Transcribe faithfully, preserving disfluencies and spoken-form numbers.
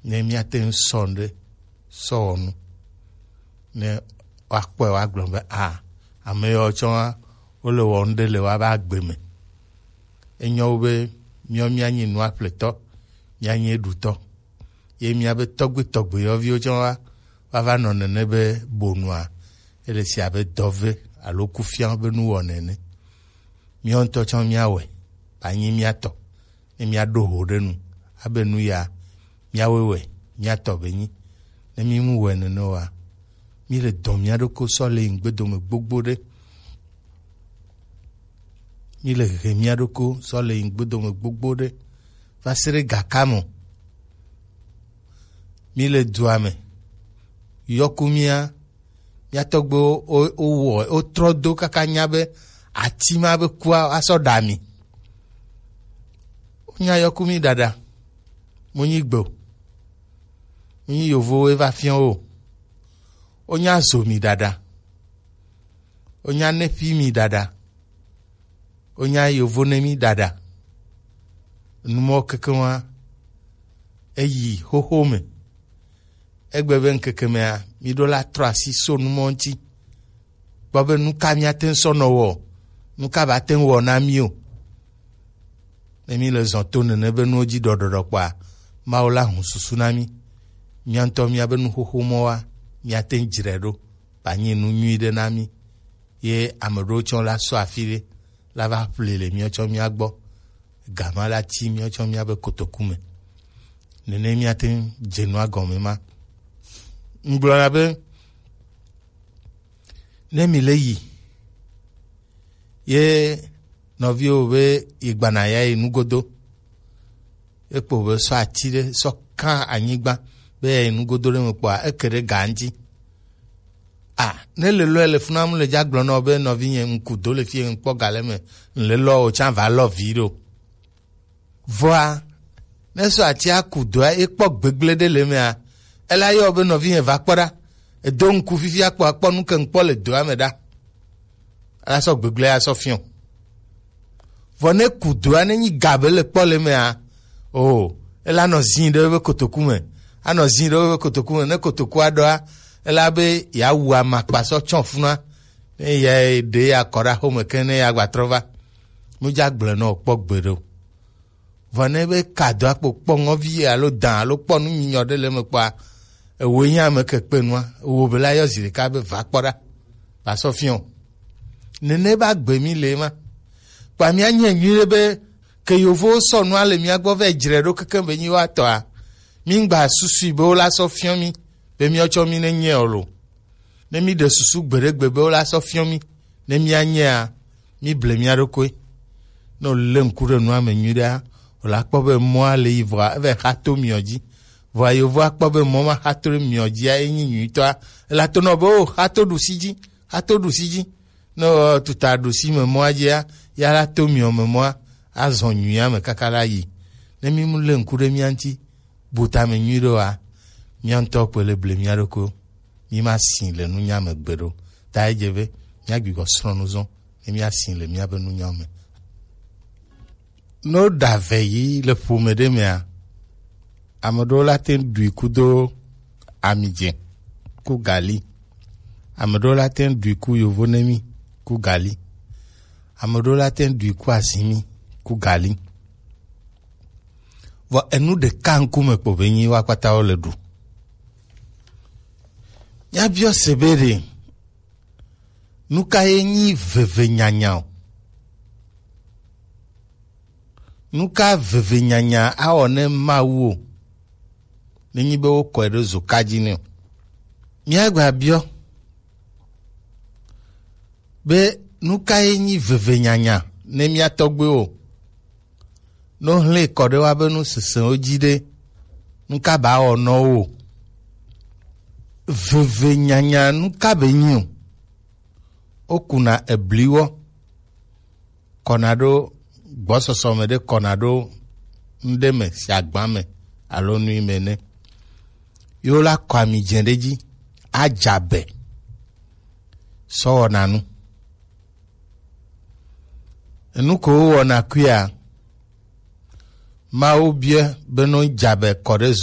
Ne míate ŋu sɔ nu ɖe sɔ wɔ nu, ne woakpɔe woagblɔ be a, ame yawo tsɔ wa wole wɔ nu ɖe le woabe agbe me. Enyo wu be míawo míanyi nuaƒletɔ, míanyi eɖutɔ, ye míabe tɔgbe tɔgbe yɔviwo tsɔ wa woava nɔ nene be bonua, ele si abe dɔve alo kufia be nuwɔna ene. Míawo ŋutɔ tsɔ míawɔe, ba nyi mía tɔ. Ne míaɖo ho ɖe nu abe nu ya míawoe wɛ, mía tɔ be nyi. Ne mímu wɔe nene oa, míle dɔn mía ɖokui sɔ le yi ŋgbedome gbogbo ɖe. Míle he mía ɖokui sɔ le yi ŋgbedome gbogbo ɖe va se ɖe gaka me. Míle dua me, yɔku mía, mía tɔgbuiwo wo, wo, wowɔ, wotrɔ do kaka nya be ati ma be kua asɔ ɖa mi. Wonya yɔku mi ɖaɖa, mo nyi gbe o. Mo nyi yovowo va fiɔ wo. Wonya zo mi ɖaɖa. Wonya nefi mi ɖaɖa. Wonya yovo ne mi ɖaɖa. Numɔ keke wa eyi xoxo me. Egbe be ŋkeke mea, mi ɖo la trɔ asi so numɔ ŋuti. Kpɔ be nu ka míate ŋu sɔ nɔ wɔ, nu ka ba te ŋu wɔ na mí o. Ne mi le zɔn to nene be nuwo dzi ɖɔɖɔɖɔ kpɔa, Mawu la hu susu na mí. Mía ŋutɔ míabe nuxoxo mɔ wa, míate ŋu dzrae ɖo, ba nyi nu nyui ɖe na mí. Ye ame ɖewo tsɔ la sɔ afi ɖe, la va ƒle le míawo tsɔ mía gbɔ. Gama la ti míawo tsɔ míabe kotoku me. Nene míate ŋu dze nua gɔme ma. Ŋgblɔna be, ne mi le yi, ye nɔviwo be yi gbana ya yi nugodo, ekpo be sɔ ati ɖe sɔ kan anyigba be ya yi nugodo ɖe me kpɔa, eke ɖe ga ŋuti. A, ne le lɔe le funa mu le dza gblɔ nɔ be nɔvinye ŋku do le fie ŋkpɔ ga le me, le lɔ o tsa va lɔ vi ɖo. Vɔa, ne sɔ atia ku doa, ekpɔ gbegble ɖe le mea, ela yɔ be nɔvinye va kpɔ ɖa. Edo ŋku fifi akpɔ akpɔ nu ke ŋkpɔ le doa me ɖa. Ela sɔ gbegble asɔ fiɔ. Vɔ ne ku doa, ne nyi ga be le kpɔ le mea, o, ela nɔ zin ɖe be kotoku me. Anɔ zin ɖe be kotoku me. Ne kotoku aɖɔa, ela be ya wu amakpa sɔ tsɔ funa. Ne ya ɖe ya kɔ ɖa xome ke ne ya gba trɔ va. Nu dza gblẽ nɔ kpɔ gbe ɖo. Vɔ ne be ka do akpo kpɔ ŋɔvi alo dã alo kpɔ nu nyinyɔ ɖe le eme kpɔa, ewoe nye ame ke kpe nua, ewo be la yɔ zi ɖeka be va kpɔ ɖa, va sɔ fiɔ. Nene ba gbe mi le ma. Kpa mía nye nyui ɖe be ke yovowo sɔ nua le mía gbɔ vɛ dzre ɖo keke be nyi wa tɔa, mi ŋgba susui be wo la sɔ fiɔ mi be míawo tsɔ mi ne nye o lo. Ne mi ɖe susu gbeɖegbe be wo la sɔ fiɔ mi, ne mía nyea, mi ble mía ɖokui. Ne wòlé ŋku ɖe nua me nyuiɖea, wòla kpɔ be mɔa le yi vɔa, eve xa to miɔ dzi. Vɔa yovoa kpɔ be mɔ ma xa to ɖe miɔ dzia, enyi nyuitɔa. Ela to nɔ be, o, xa to ɖusi dzi, xa to ɖusi dzi. Ne wò tuta ɖusi me mɔa dzia, ya la to miɔ me mɔa, azɔ nyuia me kaka la yi. Ne mi mu lé ŋku ɖe mía ŋuti, bu tame nyuiɖe oa, mía ŋutɔ kpoe le ble mía ɖokui o. Mi ma si le nunya me gbeɖe o. Ta edze be mía gbigbɔ srɔ̃ nu zɔ, ne mía si le míabe nunyawo me. Ne woɖa ve yi le ƒome ɖe mea, ame ɖewo la te ŋu ɖui kudo ami dze ku gali. Ame ɖewo la te ŋu ɖui ku yovo nemi ku gali. Ame ɖewo la te ŋu ɖui ku azimi ku gali. Vɔ enu ɖeka ŋkume kpo be nyi woakpata wo le ɖu. Míabiɔ se be ɖe, nu ka ye nyi veve nyanya o? Nu ka veve nyanya awɔ ne Mawu o? Ne nyi be wokɔe ɖo zoka dzi nɛ o. Míagba biɔ be nu ka ye nyi veve nyanya ne mía tɔgbuiwo? Ne wohlẽ kɔ ɖe woabe nu sesẽwo dzi ɖe, nu ka ba wɔ nɔ wo? Veve nyanya nu ka be nyi o? Wokuna ebliwɔ kɔna ɖo gbɔsɔsɔ me ɖe, kɔna ɖo nuɖe me si agba me alo nui me ne. Ye wola kɔ ami dze ɖe dzi, adza be sɔ wɔna nu. Enu ko wowɔna kuia, Mawu biɛ be no dza be kɔ ɖe zo